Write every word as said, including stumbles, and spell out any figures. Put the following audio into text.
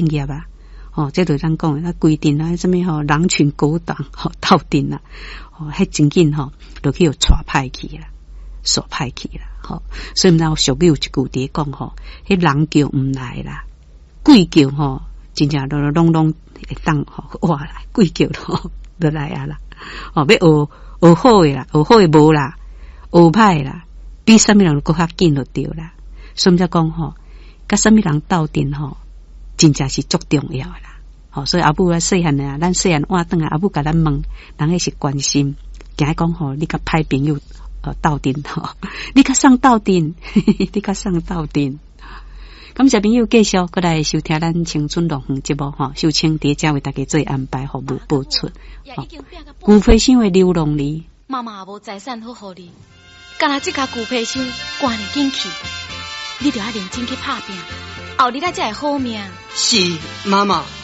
正業啊。吼，這就咱講的，啊規陣啊，啥物吼，狼群狗黨吼鬥陣啦，吼，彼真緊吼，就去予帶歹去啦，煞歹去啦，吼。所以毋知有俗語有一句佇講吼，彼人叫毋來啦，鬼叫吼，真正攏攏攏會當吼活來，鬼叫吼就來啊啦，吼，欲學學好的啦，學好的無啦，學歹啦，比啥物人閣較緊就對啦。所以才講吼，佮啥物人鬥陣吼，真正是足重要的啦。吼，所以阿母啊，細漢啊，咱細漢換轉來，阿母共咱問，人彼是關心，驚講吼，你佮歹朋友呃鬥陣吼，你佮誰鬥陣，你佮誰鬥陣。感謝朋友繼續閣來收聽咱青春樂園節目吼，秀清佇遮為大家做安排服務播出。牛皮箱的流浪兒，媽媽也無財產好予你，干焦這跤牛皮箱關會緊去，你著愛認真去拍拚，後日仔才會好命。是媽媽。